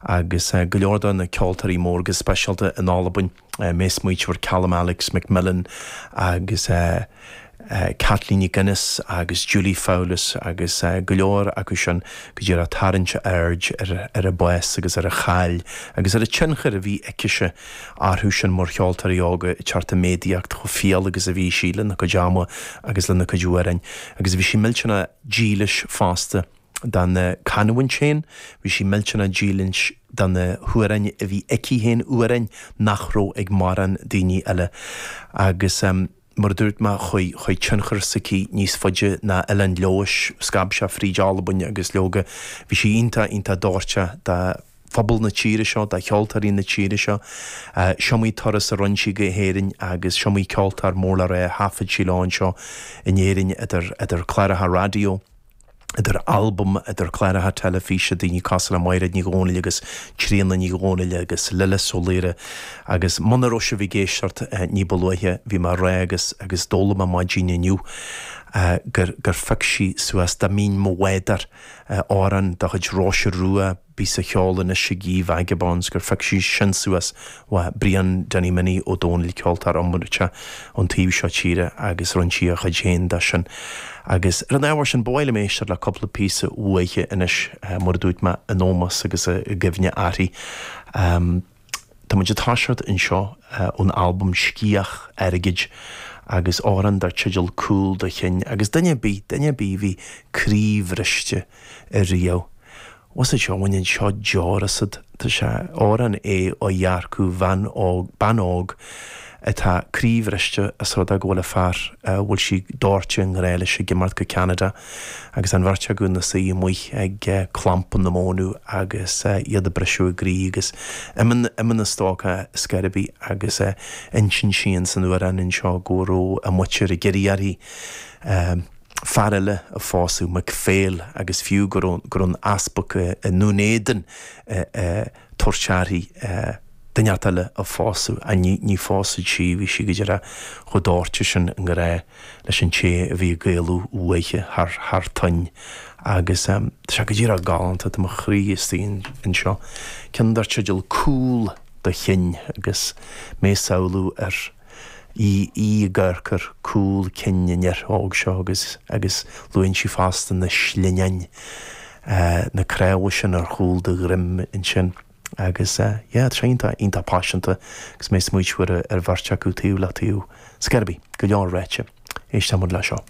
Agus go leor de na ceoltóirí mór go speisialta in Albain, mé ag smaoitiú ar Calum Alex MacMillan agus Caitlín Nic Fhionnais agus Julie Fowlis agus go leor acu sin go díreach ag tarraingt aird ar a bás agus ar a cháil agus ar an tionchar a bhí aicise orthu sin mar cheoltóirí óga ag teacht i méadaíocht chomh fial agus a bhí sí lena cuid ama agus lena cuid amhráin agus bhí sí millteanach dílis fosta dona canúint féin, bhí sí millteanach dílis do na hamhráin a bhí aici féin, amhráin nach raibh ag mórán daoine eile agus mar a dúirt mé, chuaigh, chuaigh tionchar s'aici níos faide ná Oileán Leodhais, scab sé fríd Albain agus leoga, bhí sí iontach, iontach dóirteach do phobal na tíre seo, do cheoltóirí na tíre seo. S'iomaí turas a rinne sí go hÉirinn agus s'iomaí ceoltóir mór le rá a thaifead sí leo anseo in Éirinn idir, idir cláracha raidió, idir albaim, idir cláracha teilifíse, daoine cosúil le Maighréad Ní Dhomhnaill agus Tríona Ní Dhomhnaill agus Lillis Ó Laoire agus muna raibh sibh ag éisteacht ní ba luaithe, bhí mé ag rá agus agus d'fhoghlaim mé maidin inniu gur gur phioc sí suas Dá mBínn 'Mo Bhádóir, amhrán de chuid Róise Rua, píosa cheol anois ag í Vagabonds gur phioc sí sin suas uaidh Brian Danny Minnie Ó Dónaill, ceoltóir iomráiteach ón taobh seo tíre agus rinne sí a chuid féin de sin. Agus ar an ábhar sin, ba mhaith liom éisteacht le cúpla píosa uaithi anois, mar a dúirt mé, in ómós agus i gcuimhne uirthi. Tá muid ag toiseacht anseo ón albam Sciath Airgid agus amhrán dar teideal Cúl do Chinn agus duine ar bith, duine ar bith a bhí croíbhriste ariamh, Bhfuil fhios agat seo, baineann seo deor asat. Tá sé, amhrán é ó dhearcadh bhean óg, bean óg atá croíbhriste as rud é go bhfuil a fear a bhfuil sí dóite i ngrá leis ag imeacht go Ceanada agus an bheirt acu ina suí amuigh ag clampa na mónadh agus iad ag briseadh a gcroí agus imíonn an stócach ar scor ar bith agus insíonn sí ins an amhrán anseo go raibh a muintir ag iarraidh uirthi fear eile a phósadh, MacPhail, agus fiú go raibh go raibh an easpag i nDún Éideann ag tabhairt uirthi duine inteacht eile a phósadh, ach ní ní phósfadh sí, bhí sí go díreach chomh dóite sin i ngrá leis an té a bhí ag éalú uaithi thar thar toinn. Agus tá sé go díreach galánta, tá mo chroí istigh anseo. Ceann dar teideal Cúl do Chinn agus mé ag samhlú ar í í ag amharc ar cúl cinn an fhir óg seo agus agus luann sí fosta na slinneáin, na cnámha sin ar chúl do dhroim ansin agus yeah tá sé iontach iontach paiseanta agus mé ag smaoitiú ar ar bheirt acu taobh le taobh. Ar scor ar bith, go leor ráite. Éisteann muid le seo.